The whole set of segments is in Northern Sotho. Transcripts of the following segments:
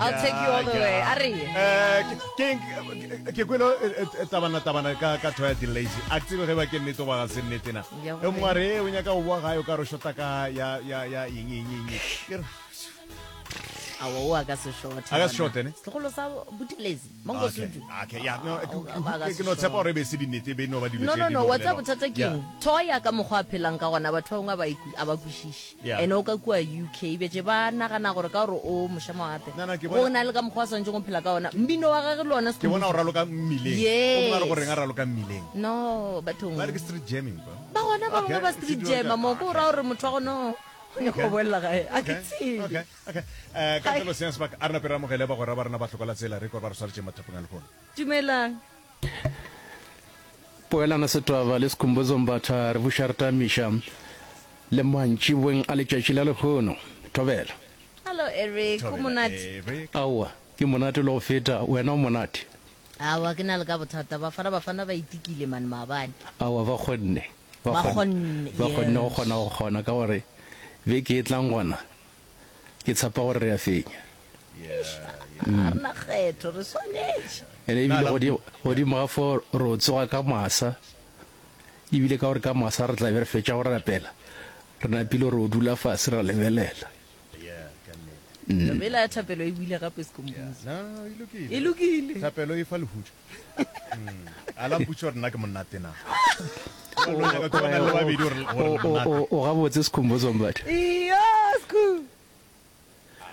I'll take you all the way. A re ye. Eh, ke- ke ke kwele eh, eh, tabana tabana ka ka thoya di-lazy a ke tsebe ge ba ke nnete goba ga se nnete na Ya e gore. mongwe a re "Eh, o nyaka go boa gae o ka re shota ka ya ya ya eng eng eng eng." Ke re, Aowa, o a ka se shothe. A ka se shothe, ne? Setlogolo sa Buthelezi, Mangosuthu. Okay, okay, yeah, no, Ah, ke- o- a ka ke se ke no tshepa shothe. gore e be e se dinnete e be e no ba dilo No, tše no, di no, no wa tseba bolelwa. bothata ke Yeah. eng? Thoya ka mokgwa a phelang ka gona, batho ba bangwe a ba iku- a ba kwešiše. Yeah. Ene o ka kua UK, bjatše ba nagana gore ka gore o mošamawatle, No, no, ke go bona- na le ka mokgwa a swanetšeng go phela ka ona. Mmino wa gage le ona ke bona o raloka mmileng Yes. o mongwe a re goreng a raloka mmileng No, bathong. ba re ke street jamming bro. Ba gona ba bangwe Okay, ba street se dira jammer ka- mo, ko o ra gore motho wa gona o nyaka go boela gae. A ke Okay, tsebe. okay, okay. Eh, ka ntle le senya sebaka a re nape re amogele bagwera ba rena ba hloka la tsela re kore ba re swaretše mathapong a lehono Dumelang. Poelano Setwaba le Skhumbuzo Mbatha re buša re tamiša le mantšiboeng a letšatši la lehono. Thobela. Hello Eric, o Thobela, monate? Eric. Aowa, ke monate le go feta, wena o monate? Aowa, ke na le ka bothata. Bafana Bafana ba itikile man maabane. Aowa, ba kgonne. Ba kgonne, Ba kgonne go yes. kgona go kgona ka gore beke e tlang gona ke tshepa gore re a fenya. Ga re na kgetho, re swanetše. Ene ebile godimo, godimo ga fo ro tsoga ka masa, ebile ka gore ka masa re tla be re fetša go rapela, re napile ro dula fase ra lebelela. Taba ela ya thapelo e buile gape Skhumbuzo. No, e lokile. E lokile. Thapelo e fa lehutšo. Mm. A la mpotša gore nna ke monate na. O nyaka ke bona le babedi gore gore O, le o, monate. o, o gabotse Skhumbuzo Mbatha. Iyo, Skhu.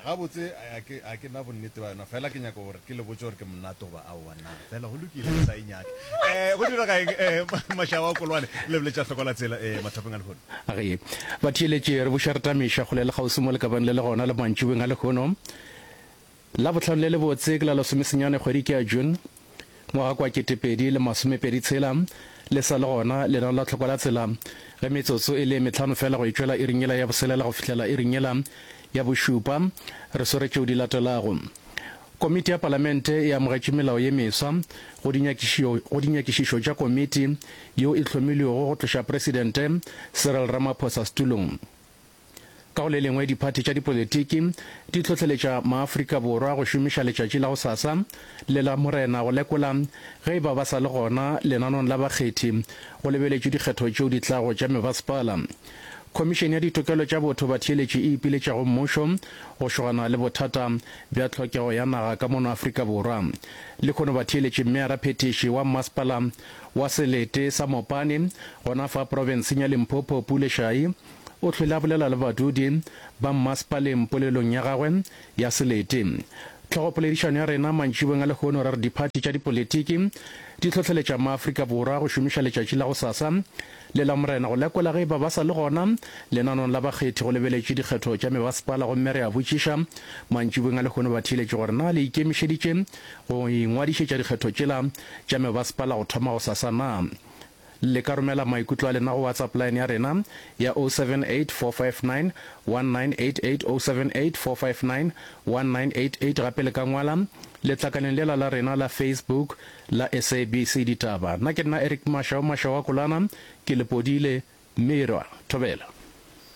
Gabotse a ke a ke na bonnete ba yona fela ke nyaka gore ke le botse gore ke monate goba aowa na fela go lokile ke sa e nyake. Eh go dira ga eng eh Mashaba wa Kolwane le boletša hloko la tsela eh mathapeng a lehono. A re batheeletše re buša re tamiša kgole le kgauswi mo lekabeng le le gona le mantšiboeng a lehono. Labohlano le lebotse ke la lesomesenyane kgwedi ke ya June ngwaga kwa 2026 le sa le gona lenano la tlhoko la tsela ge metsotso e le metlhano fela go etšwela iring yela ya boselela go fihlela iring yela ya bošupa re swere tšeo di latelago. Komiti ya Palamente e amogetše melao ye meswa go go dinyakišišo tša komiti yeo e hlomilwego go tloša Presidente Cyril Ramaphosa setulong. Ka go le lengwe, diphathi tša dipolitiki di hlohleletša maAfrika Borwa go šomiša letšatši la gosasa le la Morena go lekola ge e ba ba sa le gona lenanong la bakgethi go lebeletšwe dikgetho tšeo di tlago tša mebasepala. Khomišene ya Ditokelo tša Botho Batheeletši e ipiletša go mmušo go šogana le bothata bja tlhokego ya naga ka mono Afrika Borwa. Lehono batheeletši Meyara Phethiši wa Mmasepala wa Selete sa Mopani gona fa profenseng ya Limpopo Pule Shayi O hlwele a bolela le badudi ba mmasepaleng polelong ya gagwe ya selete. Tlhogopoledišano ya rena mantšiboeng a lehono re re diphathi tša dipolitiki di hlohleletša maAfrika Borwa go šomiša letšatši la gosasa le Lamorena go lekola ge e ba ba sa le gona lenanong la bakgethi go lebeletšwe dikgetho tša mebasepala gomme re a botšiša mantšiboeng a lehono batheeletši gore na le ikemišeditše go ingwadišetša dikgetho tšela tša mebasepala go thoma gosasa na. Le ka romela maikutlo a lena go WhatsApp line ya rena ya 078 459 1988, 078 459 1988. Gape le ka ngwala letlakaleng lela la rena la Facebook la SABC Ditaba. Nna ke nna Eric Mashau, Mashau wa Kolana, ke Lepodile, Mirwa. Thobela.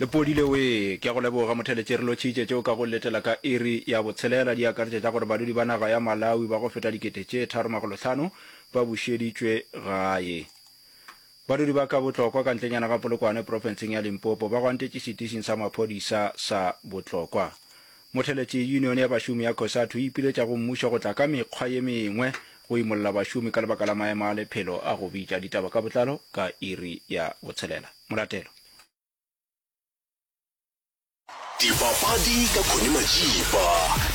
Lepodile wee! Ke a go leboga Motheletše, re lotšhitše tšeo ka go letela ka iri ya botshelela di akaretša tša gore badudi ba naga ya Malawi ba go feta 3500 ba bušeditšwe gae. Badudi ba ka Botlokwa ka ntlenyana ga Polokwane profenseng ya Limpopo ba gwantetše setišing sa maphodisa sa Botlokwa. Motheletše Union ya bašomi ya Cosatu e ipiletša go mmušo go tla ka mekgwa ye mengwe go imolla bašomi ka lebaka la maemo a lephelo a go bitša. Ditaba ka botlalo ka iri ya botshelela. Molatelo. Dipapadi ka Connie Majiba,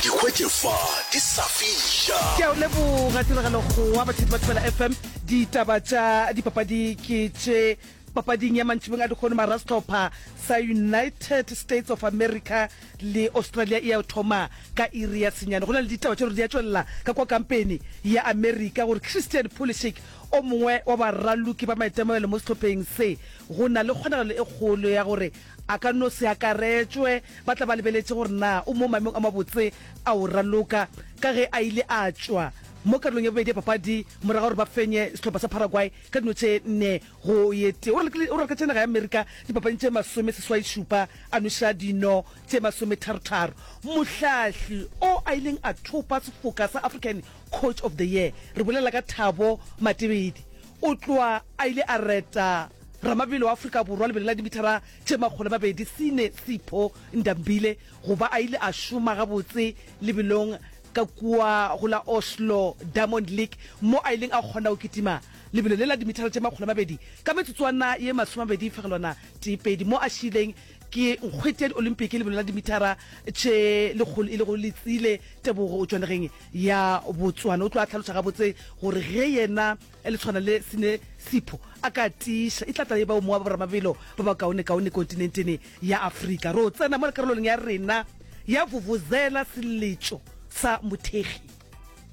di hwetše fa di sa fiša. Ke a o leboga Tiragalo Kgowa, batheetši ba Thobela FM. Ditaba tša dipapadi ke tše. Papading ya mantšibong a dikgono marasehlopha sa United States of America le Australia e ya thoma ka iri ya senyane. Go na le ditaba tša gore di a tšwelela ka kwa kampeni ya America gore Christian Pulisic o mongwe wa baraloki ba maitemogelo mo sehlopheng se go na le kgonagalo e kgolo ya gore A ka no se akaretšwe. Ba tla ba lebeletše gore na o mo maemong a mabotse a go raloka ka ge a ile a tšwa. mo karolong ya bobedi ya papadi morago ga gore ba fenye sehlopha sa Paraguay ka dino tše nne go ye tee. O raloketše naga ya Amerika dipapading tše masomeseswai-šupa, a nweša dino tše masometharotharo. Mohlahli o a ileng a thopa sefoka sa African Coach of the Year, re bolela ka Thabo Matebedi, o tloa a ile a reta ramabelo wa Afrika Borwa lebelo la dimithara tše 200 Sine Sipho Ndambile go ba a ile a šoma gabotse lebelong ka kua go la Oslo Diamond League mo a ileng a kgona go kitima lebelo le la dimithara tše 200 ka metsotswana ye 20.12 mo a šiileng ke nkgwete ya Diolimpiki lebelo la dimithara tše lekgolo e lego Letsile Tebogo o tšwa nageng ya Botswana. O tlo a hlaloša gabotse gore ge yena le tshwana le Sine Sipho a ka tiiša e tla tla e ba o mongwe wa boramabelo ba bakaonekaone kontinentene ya Afrika. Ro tsena mo karolong ya rena ya Vuvuzela seletšo sa mothekgi.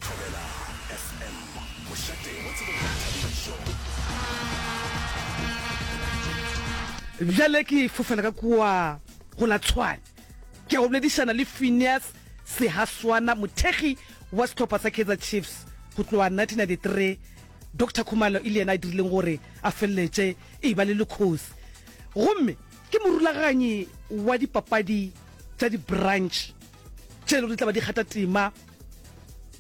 Thobela FM, mošate wa tsebo le boithabišo. Bjale ke fofela ka kua go la Tshwane. Ke ya go boledišana le Phineas Sehaswana, mothekgi wa sehlopha sa Kaizer Chiefs go tloga 1993. Doctor Khumalo e le yena a dirileng gore a feleletše e eba le lekgosi. Gomme ke morulaganyi wa dipapadi tša di-branch tše e le gore di tla ba di kgatha tema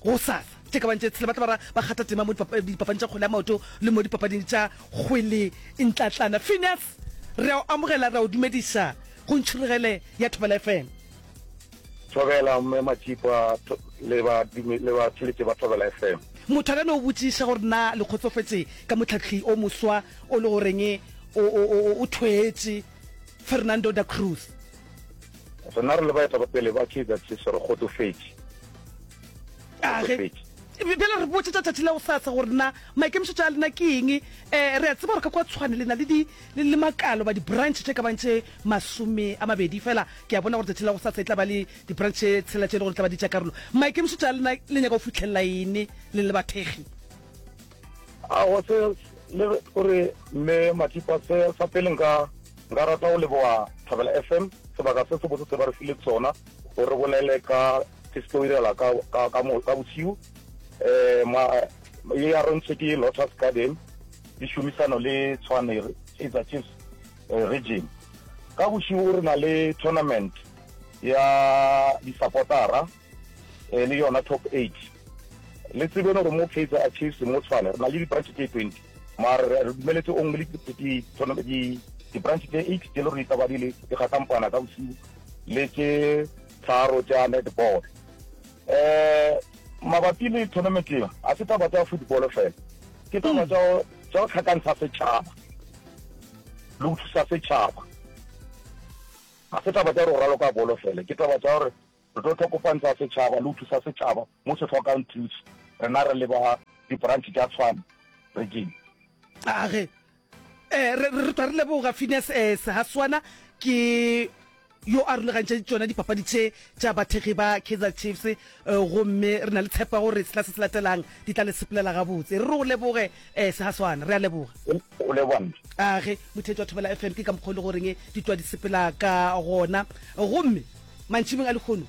gosasa. Tše ka bang tše tshela ba tla ba ba kgatha tema mo dipapading tša kgwele ya maoto le mo dipapading tša kgwele ntlatlana. Phineas, re a o amogela, re a o dumediša go Ntšhurugele ya Thobela FM. Thobela Mme Matšipa le ba le batheeletši ba Thobela FM. Motho a ka no botšiša gore na le kgotsofetše ka mohlahli o moswa o le goreng o, o, o, o thwetše, Fernando da Cruz. Rena re le baetapele ba Kaizer Chiefs re kgotsofetše. A ge, bjale re botše tša tšatši la gosasa gore na maikemišetšo a lena ke eng. Um re a tseba gore ka kua Tshwane le na le di, le, le makalo ba di-branch tše ka bang tše 20, fela ke a bona gore tšatši la gosasa e tla ba le di-branch tše tshela tše e le gore di tla ba di tša karolo. Maikemišetšo a lena le nyaka go fihlelela eng le le bathekgi? Aowa, se, le gore Mme Mathipa, se sa pele nka, nka rata go leboga Thobela FM, sebaka se sebotse se ba re fileng sona gore re bolele ka se se tlo direla ka, ka, ka, mo, ka bosiu. Eh, ma, ye ya rontšhe ke Lotus Garden, di šomisano le Tshwane Kaizer Chiefs eh, region. Ka bosiu re na le tournament ya di-supportera eh, le yona top eight. Le tsebeng gore mo Kaizer Chiefs mo Tshwane re na le di-branch tše 20 mare re re dumeletse only di-branch tše eight tše le gore di tla ba di le di kgatlampana ka bosiu le tše tharo tša netball. Um mabapi le tournament ye ga se taba tša football fela, ke taba tša tša go tlhakantsha setšhaba le go thusa setšhaba. Ga se taba tša gore go raloka bolo fela, ke taba tša gore Re tlo hlokofantsha setšhaba le go thusa setšhaba mo se hlokang thuso. Rena re le ba di-branch tša Tshwane region. A ge eh, re, re tla re leboga Phineas eh, Sehaswana ke yo a rulagantše tšona dipapadi tše tša bathekgi ba Kaizer Chiefs eh, gomme re na le tshepo ya gore sehla se se latelang di tla le sepelela gabotse. Re re go leboge eh, Sehaswana, re a leboga. O leboga nna. A ge motheetši wa Thobela FM ke ka mokgwa o le goreng ditwa di sepela ka gona gomme Mantšibeng a lehono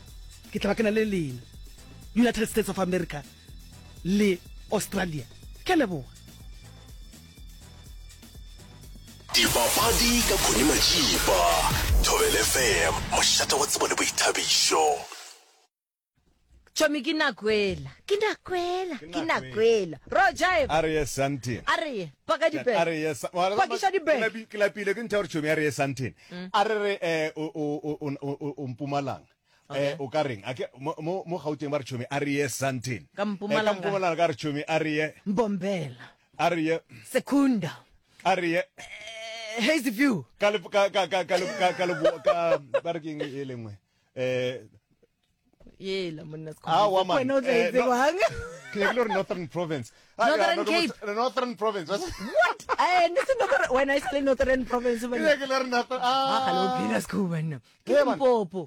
ke tla ba ke na le lena, United States of America le Australia. Ke a leboga. Dipapadi ka Connie Majiba, Thobela FM, mošate wa tsebo le boithabišo. Chomi ke nakwela ke nakwela ke nakwela ro jive A re ye Sandton. a re ye paka di A bag re ye Sa- Pakiša di bag. Ke lapi- Ke lapile ke ntho ya gore chomi a re ye Sandton. A re re eh o o o o o- o Mpumalanga. Okay. Eh o ka reng? A ke mo mo mo Gauteng ba re chomi a re ye Sandton. Ka Eh, Mpumalanga. ka Mpumalanga ka re chomi a re ye Mbombela a re ye Secunda a re ye eh, Hazy View ka le ka ka ka ka ka ka le ka ba re keng e lengwe. Eh yela monna Aowa, man. wena o tla e Eh, no- tsebang ke nyakile gore northern province Ah, Northern yeah, Cape. northern province what eh ne se northern wena e sa le northern province ke banna nyakile gore northern ah gale o ah phela sekhubu banna ke Eh, man. Limpopo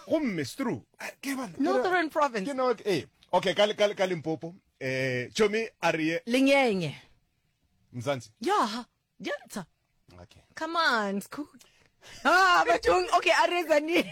gomme stru ke bana Northern province ke no eh okay ka ka ka Limpopo eh chomi a re ye lenyenye Mzansi ya Diantsha okay come on Sekhubu. Ah, bathong, okay, a re Tzaneen.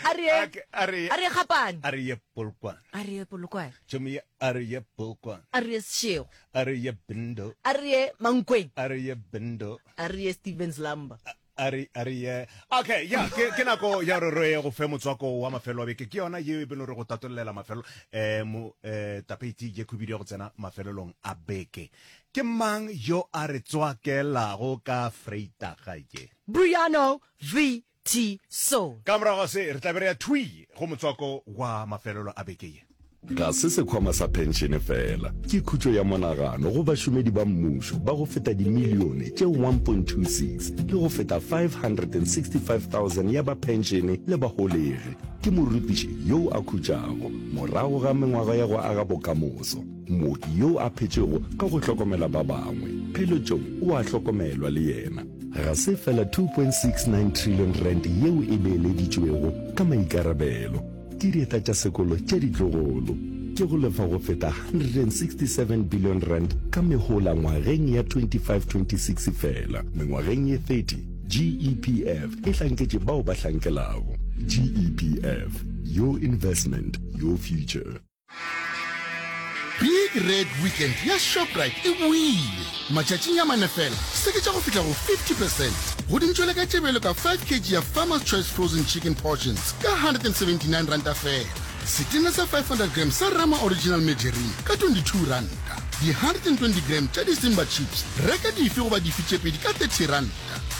A re A ke- a re a re Gapane. A re ye Polokwane. A re ye Polokwane. Tšhomi ye a re ye Polokwane. A re ye Seshego. A re ye Bindo. A re ye Mankweng. A re ye Bindo. A re ye Stevens Lamba. A re a re ye. Okay, ya ke ke nako ya gore re go fe motswako wa mafelo a beke. Ke yona yeo e beno re go tatollela mafelo eh mo eh tapeiti ye khubidu ya go tsena mafelelong a beke. Ke mang yo a re tswakelago ka freitaga ye? Briano VT Soul. Ka morago ga se, re tla be re ya thwii go motswako wa mafelelo a beke ye. Ga se sekhwama sa phenšene feela, ke khutšo ya monagano go bašomedi ba mmušo ba go feta dimilione tše 1.26 le go feta 565,000 ya ba phenšene le baholegi. Ke morutiši yo a khutšago morago ga mengwaga ya go aga bokamoso, mooki yo a phetšego ka go hlokomela ba bangwe. Pheletšong o a hlokomelwa le yena. Ga se fela 2.69 trillion rand yeo e beeleditšwego ka maikarabelo ke dieta tša sekolo tša ditlogolo, ke go lefa go feta 167 billion rand ka mehola ngwageng ya 25-26 fela. Mengwageng ye 30, GEPF e hlanketše bao ba hlankelago. GEPF, your investment, your future. Big Red Weekend ya Shoprite e boile! Matšatšing a mane fela, seketša go fihla go 50 percent go dintšwele ka tše bjalo ka 5 kg ya Farmer's Choice Frozen Chicken Portions ka R179 feela, setena sa 500 gram sa Rama Original Margarine ka R22, di-120 gram tša di-Simba Chips, reka dife goba dife tše pedi ka R30,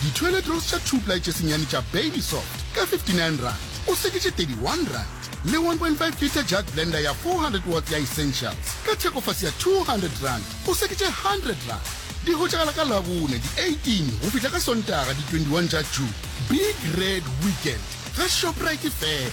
di-toilet rolls tša two-ply tše senyane tša Baby Soft ka R59, o seketše R31. Le 1.5 litre jug blender ya 400 watts ya Essentials ka thekofase ya R200 o seketše R100. Di hwetšagala ka Labone di 18 go fihla ka Sontaga di 21 tša June. Big Red Weekend ga Shoprite fela.